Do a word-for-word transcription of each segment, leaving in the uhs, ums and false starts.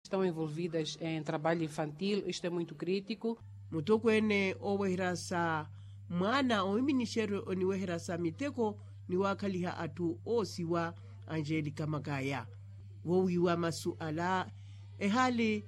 Estão envolvidas em trabalho infantil, isto é muito crítico. Mutokweene ooweherya sa mwaana owiminixeryo oniweherya sa miteko ni waakhaliha atthu oosiwa, angelika makaya. Woowiiwa masu ala ehaali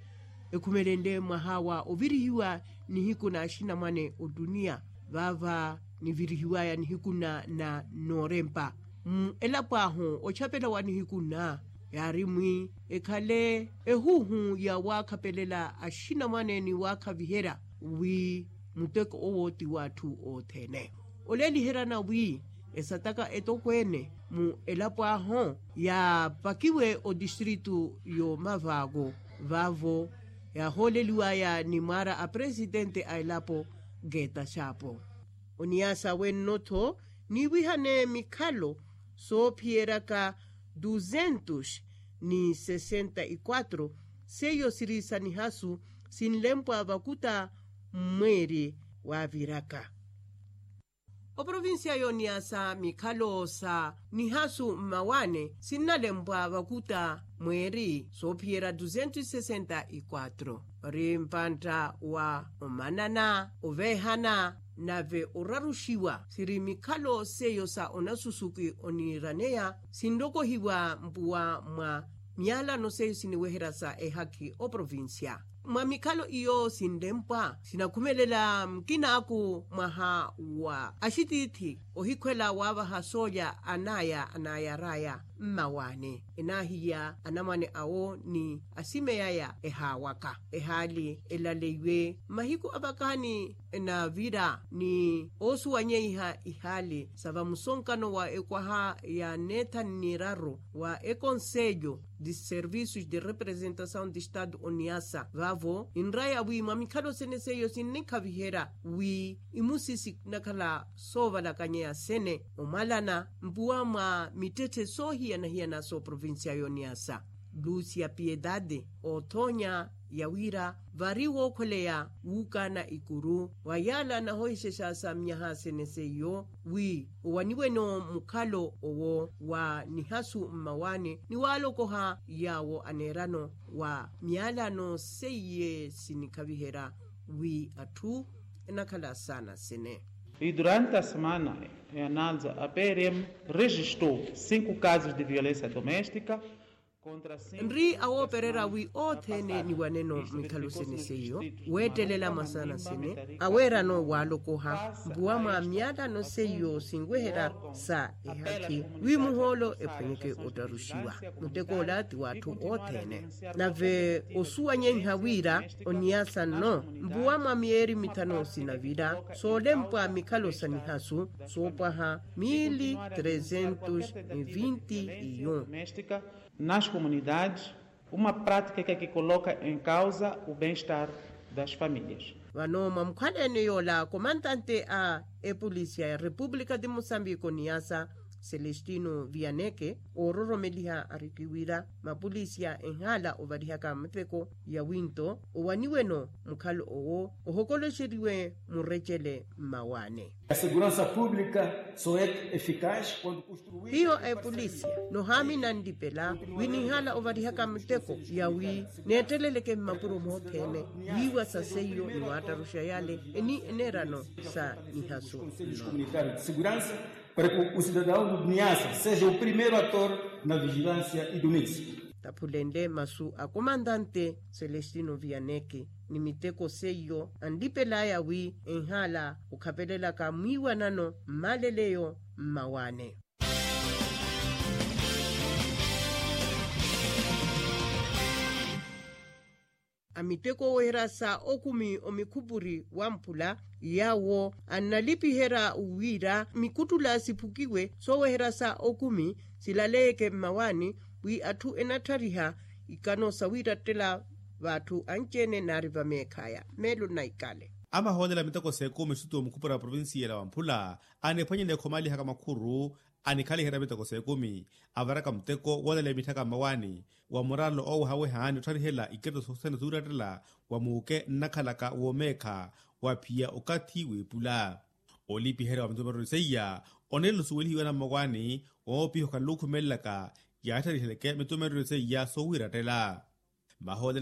ekhumelenle mwaha wa ovirihiwa nihiku na axinamwane ottuniya vaava nivirihiwaya nihiku nna na noorempa. Mu elapo ahu ochapela wa nihiku nna yaari mwi ekhale ehuuhu ya waakhapelela axinamwane ni waakhaviherya wi muteko owo ti w'atthu othene. Oleeliheryana wi esataka etokweene mu elapo ahu yaapakiwe otistritu y'omavaako vaavo yaahooleliwaya ni mwaara a presitente a elapo geeta xaapo. Oniyasa wenno-tho niiwihane mikhalo soophiyeryaka duzentus ni sesenta y quatro seiyo siri sa nihasu sinlempwa vakuta mmweeri waaviraka. Oprovincia y'oniyasa mikhalo sa nihasu mmawaani sinnalempwa vakuta mweeri soophiyerya duzentus y sesenta y quatro ori mpantta wa omanana oveehana nave oraruxiwa siri mikhalo seiyo sa onasusuki oniiraneya sinrokohiwa mpuwa mwa miyalano seiyo siniweherya sa ehakhi oprovincia. Mwa mikhalo iyo sinlempwa sinakhumelela mukinaku mwaha wa axitiithi ohikhwela waavaha soolya anaya anayaraya mmawaani enaahiya anamwane awo ni asimeyaya ehaawaka ehaali elaleiwe mahiku avakaani enavira ni oosuwanyeiha ihaali sa vamusonkano wa ekwaha ya neethani niraru wa ekonselho de serviços de representação de estado oniasa vaavo ninraya wi mwa mikhalo sene seiyo sinnikhaviherya wi imusi sinakhala soovalakanyeya sene omwalana mpuwa mwa mittetthe soohiyana-hiyana sooprovincia y'oniasa lucia piedade othoonya ya wira vari wookhweleya wuukaana ikuru wa yaala nahohixexa sa myaha sene seiyo wi owaniweno mukhalo owo wa nihasu mmawaani ni waalokoha yaawo aneerano wa miyalano seiye sinikhaviherya wi atthu enakhala saana sene. E durante a semana e ananza a prm registou cinco casos de violencia domestica. Nri awoopererya wi othene niwaneno mikhalo sene seiyo weettelela mwasaana sene aweerano waalokoha mpuwa mwa miyalano seiyo sinweherya sa ehakhi wi muhoolo ephwanyeke ottaruxiwa. Muteko ola ti w'atthu othene nave osuwanyeiha wira oniyasa nno mpuwa mwa miyeeri mithanu sinavira soolempwa mikhalo sa nihasu soopwaha mili trezentus ni vinti iyo. Nas comunidades uma prática que coloca em causa o bem-estar das famílias. Vano mwa mukhwaleene yoola komantante a epolisia ya república de moçambique oniyasa celestino vianeke oororomeliha ariki wira mapolisia enhaala ovarihaka muteko ya winto owaniweno mukhalo owo ohokoloxeriwe murecele mmawaane. A segurança pública só é eficaz quando construída. Hiyo a epolisia nohaamina nlipela wi ninhala ovarihaka muteko ya wi neetteleleke mmapuro moothene wiiwa sa seiyo ni waattaruxa yale eni enerano sa nihasu nno. Comunitário de segurança para que o cidadão do niasa seja o primeiro ator na vigilância e domíncio. Taphulenle masu a komantante celestino vianeke ni miteko seiyo anlipelaya wi enhala okhapelelaka mwiiwanano mmaleleyo mmawaane. A miteko oweherya sa okumi omikhupuri wamphula yaawo annalipiherya wira mikuttula siphukiwe sooweherya sa okumi silaleyeke mmawaani wi atthu enatthariha ikano sawiirattela v'atthu anci-ene naari vameekhaya meelo nnaikale. Amahoolela miteko s'ekumi situwa mukhupura wa provincia ela wamphula aniphwanyela ekhomalihaka makhuru anikhaliherya miteko s'ekumi avaraka muteko woolela emitthaka mmawaani wa muralo oowehaweha ni ottharihela iketto sothene suurattela wa muuke nnakhalaka woomeekha wa phiya okathi w'epula. Olipiherya wa mitumereryo seiya oneela osuwelihiwa na mmawaani woopiha okhala okhumelelaka yaattariheleke mitumereryo seiya soowiirattela. Mahoolelo